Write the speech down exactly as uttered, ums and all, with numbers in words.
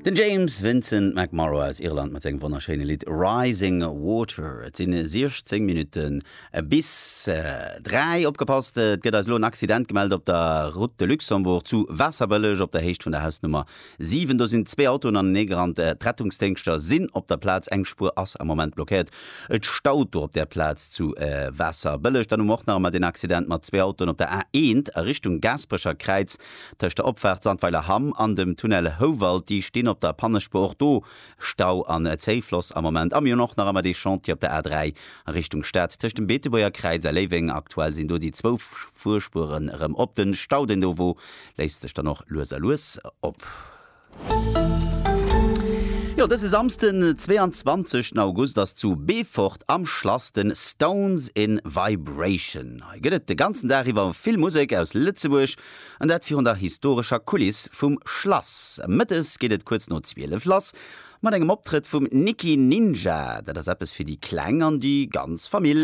Den James Vincent McMorrow aus Irland mat sengem wonnerschéine Lidd Rising Water. Et sinn siechzéng Minutte bis dräi. Opgepasst, et gëtt eis elo en Accident gemellt op der Route de Luxembourg zu Waasserbëlleg op der Héicht vun der Hausnummer siwen. Do sinn zwee Autoen aneneegerannt. D'Rettungsdéngschter sinn op der Plaz. Eng Spuer ass am Moment blockéiert. Et staut do op där Plaz zu Waasserbëlleg. Dann hu mer och nach ëmmer deen Accident mat zwee Autoen op der A eent a Richtung Gaasperecher Kräiz tëscht der Opfaart Sandweiler-Hamm an dem Tunnel Houwald. Déi stinn op der Pannespuer, och do Stau an Zéifloss am Moment. A mir hunn och nach ëmmer dee Chantier op der A dräi a Richtung Stad tëscht dem Beetebuerger Kräiz a Léiweng. Aktuell sinn do déi zwou Fuerspueren erëm op. Den Stau, deen do wor, léist sech dann och lues a lues op. Jo, dëse Samsden, zweeanzwanzeg August ass zu Beefort am Schlass den Stones in Vibration. Hei gëtt et de ganzen Dag iwwer vill Musek aus Lëtzebuerg an dat virun der historescher Kuliss vum Schlass. Mëttes geet et kuerz no zwielef lass mat engem Optrëtt vum Nikki Ninja. Dat ass eppes fir déi Kleng an déi ganz Famill.